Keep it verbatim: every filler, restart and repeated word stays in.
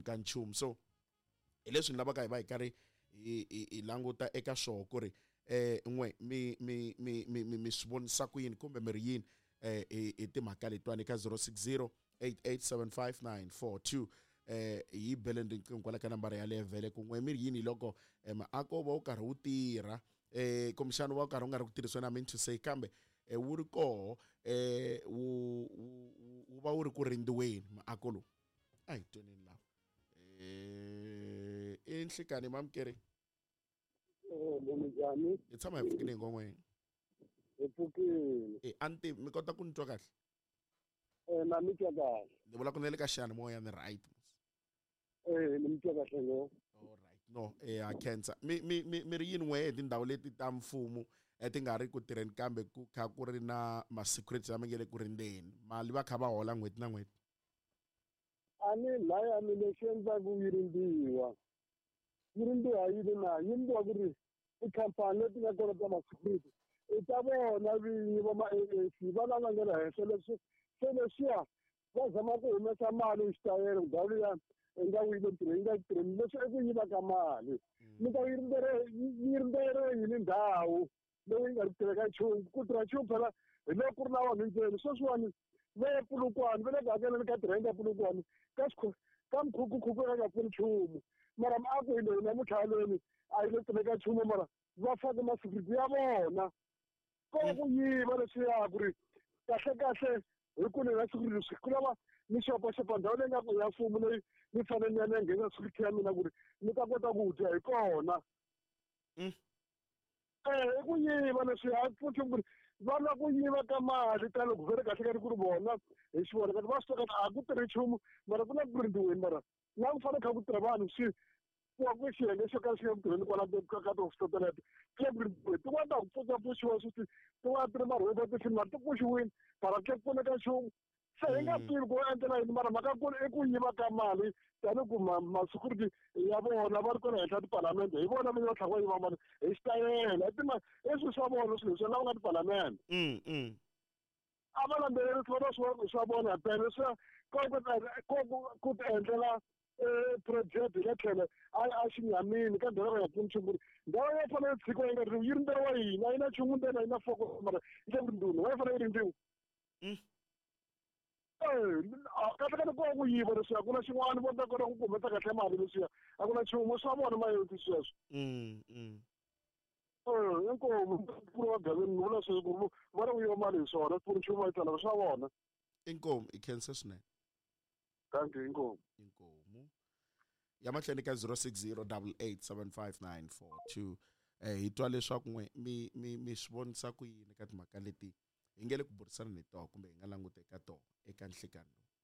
ka nchumu. So hi leswi ni lavaka hi va hi karhi hi hi hi languta eka swoho ku ri eh n'we mi mi mi mi mi mi swi vonisa ku yini kumbe mi ri yini eh hi hi timhaka letiwani ka zero six zero eight eight seven five nine four two. Eh hi beleni riqingho kwala ka nambara yaleyo vhele ku n'we mi ri yini loko maako va wu karhi wu tirha eh kumbexana wu va wu karhi wu nga ri ku tirhisiweni, I mean to say, kambe eh wu ri koho eh wu wu va wu ri ku rindziweni maako lowu. A hi tweneni lawa. Eh i nhlikani mamukeri? Eh minjhani? Hi tshama hi pfukile hi ngon'weni. Hi pfukile. Eh a ni tivi mi kota ku ni twa kahle? Eh na mi twa kahle. Ni vula ku ni le ka xiyanimoya ni right. Eh ni mi twa kahle ngopfu. All right. No, eh a khensa. Mi mi mi mi ri yini n'we hi tindhawu leti ta mfumo ti nga ri ku tirheni kambe ku kha ku ri na ma-security lama nge le ku rindzeni, mali va kha va hola n'hweti na n'hweti? A ni laya mi lexi endlaku yi rindziwa. Yi rindziwa yini na? Yi rindziwa ku ri tikhampani leti nga kona ta ma-security i ta vona vinyi va ma-A A C va lava nga le henhla leswi se leswiya va zama ku humesa mali hi xitayele ndhawu liya i nga yi le tirheni yi nga tirheni leswi i ku yiva ka mali. Mi ta yi rindzele yi rindzele yini ndhawu leyi nga ri tirheka nchumu? Ku tirha nchumu phela hi loko ku ri na vanhu ndzeni. Sweswiwani va ya Polokwane va le ku hakeleni ka tirhenta ya Polokwane ka ka mukhukhukhu ya nga pfuni nchumu, mara miako hi leyi namuntlha haleni a yi le tirheka nchumu, mara va fake ma-security ya vona. Ko ku yiva leswiya ku ri kahle kahle hi ku ni na security leswi ku lava ni xopaxopa ndhawu leyi nga ku ya mfumo leyi ni fanele ni ya ni ya nghena security ya mina ku ri ni ta kota ku dya hi kona. Eh i ku yiva leswiya a pfuni nchumu ku ri va lava ku yiva ka mali ta loko vele kahle kahle ku ri vona hi xivona kanti va swi tiva a ku tirhi nchumu, mara ku na ku rindziweni, mara la ku fanele kha ku tirha vanhu swi ku va ku xiyenge xo ka xi nga ku tirheni kwala ka ka tihofisi teleto ku le ku rindziweni. Tin'wana ta ku pfuxapfuxiwa sweswi tin'wana ti ri marhoboti ti mara ti pfuxiwile mara ku pfuneka nchumu. Se hi nga tivi ku endlela yini, mara mhaka kulu i ku yiva ka mali tanihi ku ma-security ya vona va ri kona henhla tipalamende hi vona vinyi va tlhela va yiva mali hi xitayele. I swilo swa vona swilo leswi lava nga tipalamende. A va landzelerisi vona swi swa vona phela leswiya ko ku ku ti endlela project hi le tlhelo a a xinyamini ka ndhawu ya pfuni nchumu ku ri ndhawu ya fanele yi tshikiwa yi nga ri yi rindzeriwa yini? A yi na nchumu ndzeni, a yi na foko mara yi le ku rindziweni, wa yi fanele yi rindziwa. Eh kahle kahle ko ku yiva leswiya ku na xin'wana vo ta kota ku kumeta kahle mali leswiya a ku na nchumu swa vona mayoti sweswo. Eh inkomu ku ri wa gaveni ni vula sweswo ku va ri ku yiva mali hi swona pfuni nchumu va yi tsala swa vona. Inkomu i khensa swinene. Thank you, inkomu. Inkomu. Ya mahlweni ka zero six zero double eight seven five nine four two. Eh hi twa leswaku n'we mi mi mi swi vonisa ku yini ka timhaka leti hi nge le ku burisana ni toho kumbe hi nga languta eka toho eka nhlikani lowu.